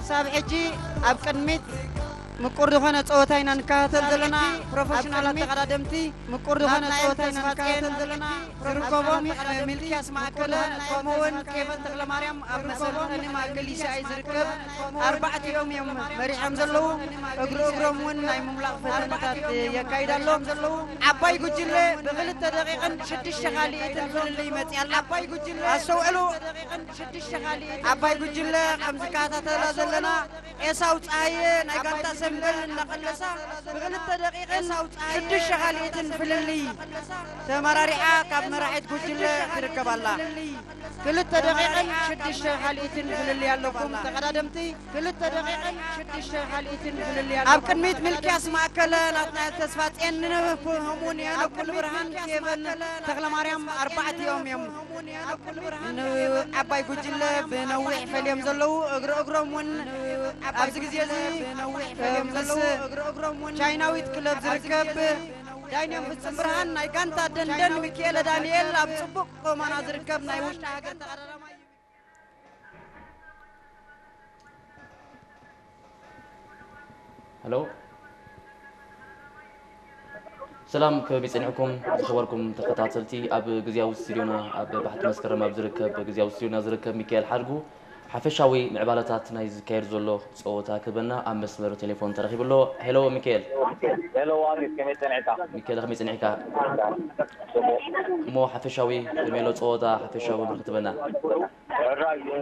ክሳብ ሕጂ ኣብ ቅድሚት ምቁር ዝኾነ ጸወታ ኢና ንከታተል ዘለና። ፕሮፌሽናላት ተቐዳደምቲ ምቁር ዝኾነ ጸወታ ኢና ንከታተል ዘለና። ዝርከቦም ሚልክያስ ማእከለ ከምኡውን ኬቨን ተኽለማርያም ኣብ መሰልጠኒ ማእከል ኢሲኣይ ዝርከብ ኣርባዕቲኦም እዮም መሪሖም ዘለዉ። እግሪ እግሮም እውን ናይ ምምላቕ ፈተነታት የካይድ ኣሎ። ዓባይ ጉጅለ ብክልተ ደቂቕን ሽዱሽተ ካልኢትን ፍልልይ መፅያ ኣላ። ዓባይ ጉጅለ ኣስተውዕሉ። ዓባይ ጉጅለ ከም ዝከታተላ ዘለና ኤሳው ፀሃየ ናይ ጋንታ ሰምበል እናቐለሳ ብክልተ ደቂቕን ሽዱሽተ ካልኢትን ፍልልይ ተመራሪሓ ካብ መራሒት ጉጅለ ትርከብ ኣላ። ክልተ ደቂቕን ሽዱሽተ ካልኢትን ፍልልይ ኣለኩም ተቐዳደምቲ። ክልተ ደቂቕን ሽዱሽተ ካልኢትን ፍልልይ ኣለኩም። ኣብ ቅድሚት ሚልክያስ ማእከለ፣ ናትናኤል ተስፋጽዮን፣ ንህሙን ሄኖክ ሙሉብርሃን፣ ኬቨን ተኽለማርያም ኣርባዕቲኦም እዮም ንዓባይ ጉጅለ ብነዊሕ ፈልዮም ዘለዉ። እግሪ እግሮም እውን ኣብዚ ግዜ እዚ ምስ ቻይናዊት ክለብ ዝርከብ ዳይንዮም ፍጹም ብርሃን ናይ ጋንታ ደንደን፣ ሚካኤለ ዳንኤል ኣብ ጽቡቕ ቁመና ዝርከብ ናይ ውሽጢ ሃገር ተቐዳዳማይ እዩ። ሄሎ፣ ሰላም፣ ከመይ ጸኒሕኩም ዝኸበርኩም ተኸታተልቲ? ኣብ ግዝያዊ ስቱድዮና፣ ኣብ ባሕቲ መስከረም ኣብ ዝርከብ ግዝያዊ ስቱድዮና ዝርከብ ሚካኤል ሓድጉ ሓፈሻዊ ምዕባለታት ናይ ዝካየድ ዘሎ ጸወታ ክህበና ኣብ መስመር ቴሌፎን ተረኺቡ ኣሎ። ሄሎ ሚካኤል። ሄሎ ኣሚር፣ ከመይ ጸኒሕካ? ሚካኤል፣ ከመይ ጸኒሕካ? እሞ ሓፈሻዊ ከመይ ኣሎ ጸወታ፣ ሓፈሻዊ ብርክ ትበና? ሕራይ፣ እ፣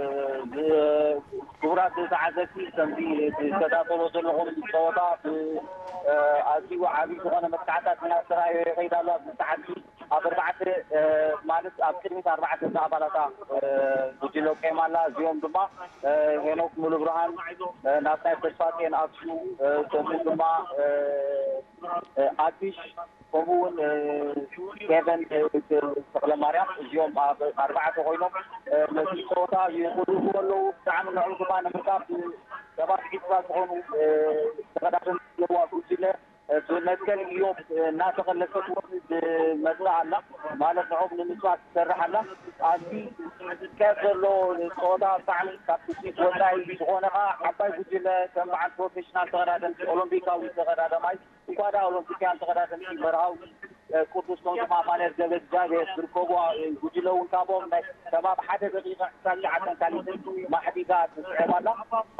ብ-፣ ክቡራት ተዓዘብቲ፣ ከምዚ ትከታተሎ ዘለኹም ጸወታ ብ-፣ እ፣ ኣዝዩ ዓቢ ዝኾነ መጥቃዕታት እናተራእየ ይኸይድ ኣሎ። ኣብዚ ሰዓት ኣብ ኣርባዕተ፣ እ፣ ማለት ኣብ ቅድሚት ኣርባዕተ ኣባላታ፣ እ፣ ጉጅለ ቆይማ ኣላ። እዚኦም ድማ፣ እ፣ ሄኖክ ሙሉብርሃን፣ እ፣ ናትናኤል ተስፋጽዮን፣ ኣብሹ፣ እ፣ ከምኡ ድማ፣ እ፣ እ፣ ኣዲሽ፣ ከምኡ እውን፣ እ፣ ኬቨን፣ እ፣ ተኽለማርያም፣ እዚኦም ኣብ ኣርባዕተ ኮይኖም፣ እ፣ ነቲ ጸወታ ይቕልውልዎ ኣለዉ። ብጣዕሚ ንዕኡ ድማ ንምርካብ፣ እ፣ ሰባት ዒስራ ዝኾኑ፣ እ፣ ተቐዳደምቲ ዘለዋ ጉጅለ፣ እ፣ ብመትከል ኢዮብ፣ እ፣ እናተቐለሰት እውን ትመጽእ ኣላ። ማለት ንዕኦም ንምስዋር ትሰርሕ ኣላ። ኣብዚ ዝካየድ ዘሎ ጸወታ ብጣዕሚ ካብ ትጽቢት ወጻኢ ዝኾነ ኸኣ ዓባይ ጉጅለ ከም በዓል ፕሮፌሽናል ተቐዳደምቲ ኦሎምፒካዊ ተቐዳዳማይ እንኳ ደኣ ኦሎምፒካውያን ተቐዳደምቲ መርሃዊ፣ እ፣ ቅዱስ ከምኡ ድማ ኣማኑኤል ገብረ እግዚኣብሔር ዝርከብዋ፣ እ፣ ጉጅለ እውን ካብኦም ናይ ከባቢ ሓደ ደቂቐ ዕስራን ትሽዓተን ካልኢትን ማሕዲጋ ትስዕብ ኣላ።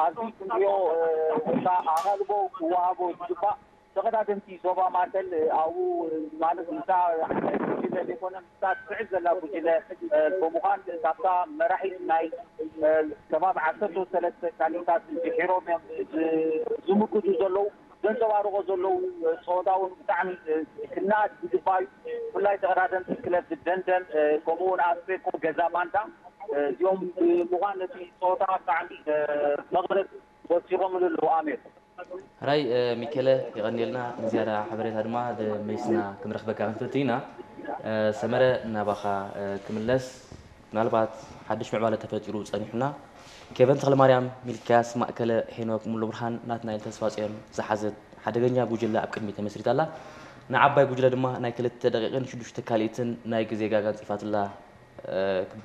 ኣብዚ ክንሪኦ፣ እ፣ ወይ ከዓ ኣቓልቦ ክወሃቦ ዝግባእ ተቐዳደምቲ ዞባ ማእከል፣ እ፣ ኣብኡ፣ እ፣ ማለት ምስታ ጉጅለ ዘይኮነ ምስታ ትስዕብ ዘላ ጉጅለ፣ እ፣ ብምዃን ካብታ መራሒት ናይ፣ እ፣ ከባቢ ዓሰርተ ሰለስተ ካልኢታት ድሒሮም እዮም ዝ-፣ ዝምጉቱ ዘለዉ። ዘንጸባርቖ ዘለዉ ጸወታ እውን ብጣዕሚ ክነኣድ ዝግባእ እዩ። ብፍላይ ተቐዳደምቲ ክለብ ደንደን ከምኡ እውን ኣስቤኮ ገዛ ባንዳ እዚኦም ብምዃን ነቲ ጸወታ ብጣዕሚ መቐረት ወሲኾምሉ ኣለዉ። ኣሜር። ሕራይ ሚኬለ የቐንየልና ንዝያዳ ሓበሬታ ድማ መሊስና ክንረኽበካ ክንፍትን ኢና። ሰመረ ናባኻ ክምለስ። ምናልባት ሓድሽ ምዕባለ ተፈጢሩ ጸኒሑና። ኬቨን ተኽለማርያም፣ ሚልክያስ ማእከለ፣ ሄኖክ ሙሉብርሃን፣ ናትናኤል ተስፋጽዮን ዝሓዘት ሓደገኛ ጉጅለ ኣብ ቅድሚት ተመስሪታ ኣላ። ንዓባይ ጉጅለ ድማ ናይ ክልተ ደቂቕን ሽዱሽተ ካልኢትን ናይ ግዜ ጋጋ ኣንጺፋትላ